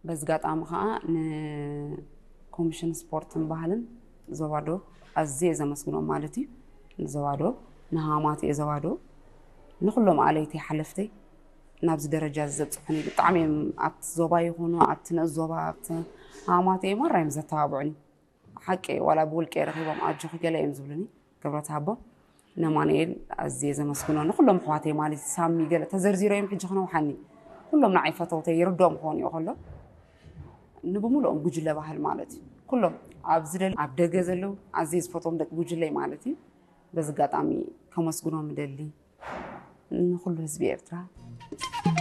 በዚ ኣጋጣሚ ከዓ ንኮሚሽን ስፖርትን ባህልን ዞባ ዶብ ኣዝየ ዘመስግኖም ማለት እዩ። ንዞባ ዶብ፣ ንሃማትኤ ዞባ ዶብ፣ ንኩሎም ኣለይተይ ሓለፍተይ ናብዚ ደረጃ እዚ ዘብፅሑኒ ብጣዕሚ እዮም። ኣብቲ ዞባ ይኹኑ ኣብቲ ንእስ ዞባ ኣብቲ ሃማትኤ ማራ እዮም ዘተባብዑኒ። ሓቂ ዋላ ብውልቂ ረኺቦም ኣጆኺ ገለ እዮም ዝብሉኒ። ክብረት ሃቦም። ነማንኤል ኣዝየ ዘመስግኖ ንኩሎም ኣሕዋተይ ማለት እዩ። ሳሚ ገለ ተዘርዚሮም ሕጂ ክነውሓኒ። ኩሎም ንዓይ ፈተውተይ ይርድኦም ክኾኑ እዩ ከሎ ንብምልኦም ጉጅለ ባህል ማለት እዩ። ኩሎም ኣብዚ ደል ኣብ ደገ ዘለዉ ኣዝየ ዝፈትዎም ደቂ ጉጅለይ ማለት እዩ። በዚ ኣጋጣሚ ከመስግኖም እደሊ ንኩሉ ህዝቢ ኤርትራ።